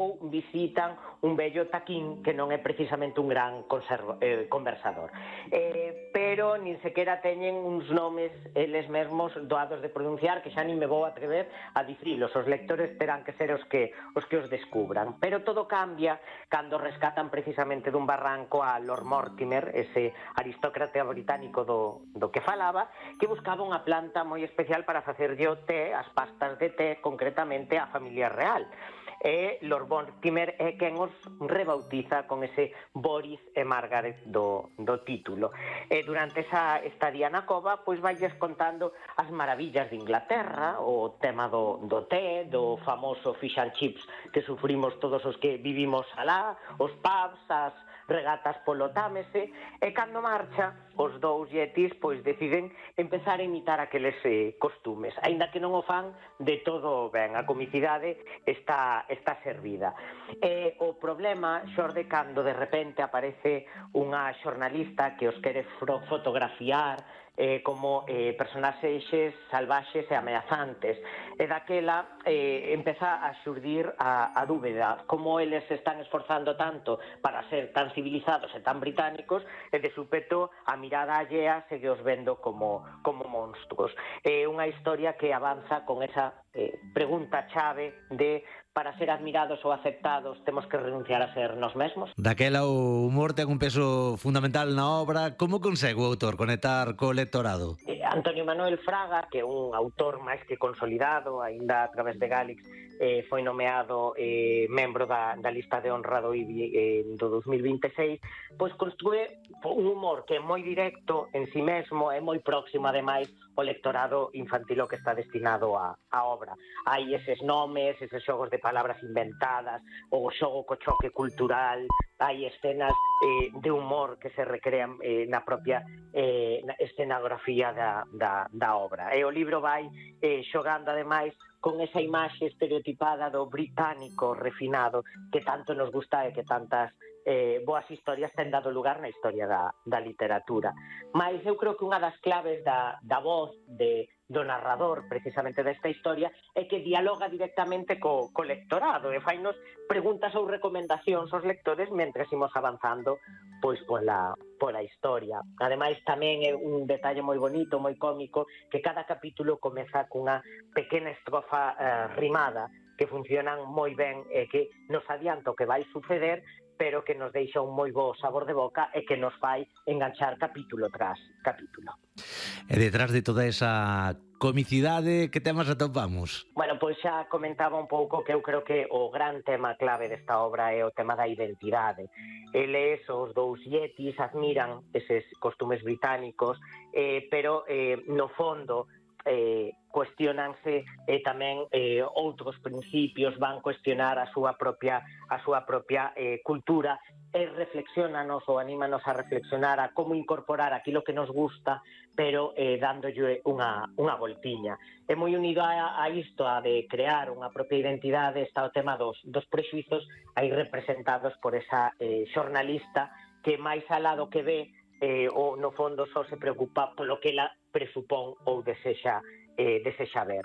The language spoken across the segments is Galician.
ou visitan un vello taquín que non é precisamente un gran conversador. Pero nin sequera teñen uns nomes eles mesmos doados de pronunciar, que xa nin me vou atrever a dicilos, os lectores terán que ser os que os descubran. Pero todo cambia cando rescatan precisamente dun barranco a Lord Mortimer, ese aristócrata británico do que falaba, que buscaba unha planta moi especial para facerlle o té, as pastas de té, concretamente a familia real. E Lord Mortimer é quen os rebautiza con ese Boris e Margaret do título. E durante esa estadía na cova, pois vailles contando as maravillas de Inglaterra, o tema do té, do famoso fish and chips que sufrimos todos os que vivimos alá, os pubs, as regatas polo Támese, e cando marcha, os dous yetis pois deciden empezar a imitar aqueles costumes, aínda que non o fan de todo ben, a comicidade está servida. E o problema xorde cando de repente aparece unha xornalista que os quere fotografiar como personaxes salvaxes e ameazantes, e daquela empeza a xurdir a dúbida, como eles se están esforzando tanto para ser tan civilizados e tan británicos, e de súpeto a mirada allea segue os vendo como monstruos. É unha historia que avanza con esa pregunta chave de para ser admirados ou aceptados temos que renunciar a ser nós mesmos. Daquela o humor ten un peso fundamental na obra. Como consegue o autor conectar co lectorado? Antonio Manuel Fraga, que é un autor máis que consolidado, aínda a través de Gálix, foi nomeado membro da lista de honra do IBI do 2026, pois construe un humor que é moi directo en si mesmo, é moi próximo, ademais, o lectorado infantil que está destinado á obra. Hai eses nomes, eses xogos de palabras inventadas, o xogo co choque cultural, hai escenas de humor que se recrean na propia escenografía da obra. E o libro vai xogando, ademais, con esa imaxe estereotipada do británico refinado que tanto nos gusta e que tantas boas historias ten dado lugar na historia da literatura. Mais eu creo que unha das claves da voz do narrador, precisamente desta historia, é que dialoga directamente co lectorado e fainos preguntas ou recomendacións aos lectores mentres imos avanzando pois pola historia. Ademais, tamén é un detalle moi bonito, moi cómico, que cada capítulo comeza cunha pequena estrofa rimada que funcionan moi ben e que nos adianta o que vai suceder, pero que nos deixa un moi bo sabor de boca e que nos fai enganchar capítulo tras capítulo. E detrás de toda esa comicidade, que temas atopamos? Bueno, pois xa comentaba un pouco que eu creo que o gran tema clave desta obra é o tema da identidade. Eles, os dous yetis, admiran eses costumes británicos, pero no fondo cuestionanse tamén outros principios, van cuestionar a súa propia cultura e reflexionanos ou anímanos a reflexionar a como incorporar aquilo que nos gusta, pero dándolle unha voltiña. É moi unido a isto, a de crear unha propia identidade, está o tema dos prexuizos aí representados por esa xornalista que máis alá do que ve ou no fondo só se preocupa polo que ela presupón ou desexa ver.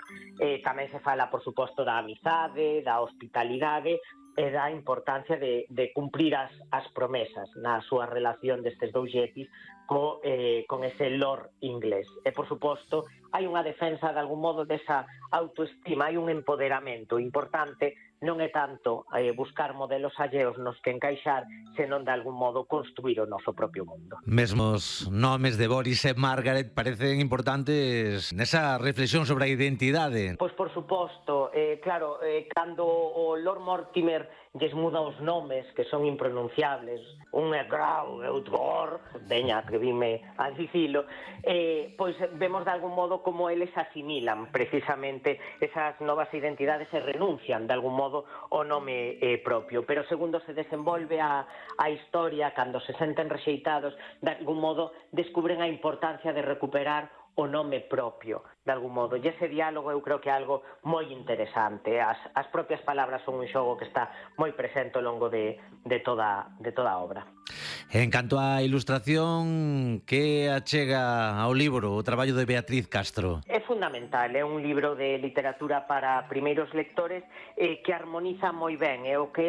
Tamén se fala, por suposto, da amizade, da hospitalidade e da importancia de cumprir as promesas na súa relación destes dous yetis con ese lord inglés. E, por suposto, hai unha defensa de algún modo desa autoestima, hai un empoderamento importante, non é tanto buscar modelos alleos nos que encaixar, senón de algún modo construir o noso propio mundo. Mesmos nomes de Boris e Margaret parecen importantes nesa reflexión sobre a identidade. Pois por suposto, claro, cando o Lord Mortimer lles muda os nomes que son impronunciables, un é Grau e outro Or, veña, atrevime a dicilo, pois vemos de algún modo como eles asimilan precisamente esas novas identidades e renuncian de algún modo o nome propio, pero segundo se desenvolve a historia, cando se senten rexeitados, de algún modo descubren a importancia de recuperar o nome propio, de algún modo. E ese diálogo eu creo que é algo moi interesante. As propias palabras son un xogo que está moi presente ao longo de toda a obra. En canto á ilustración, que achega ao libro o traballo de Beatriz Castro? É fundamental, é un libro de literatura para primeiros lectores que armoniza moi ben, é o que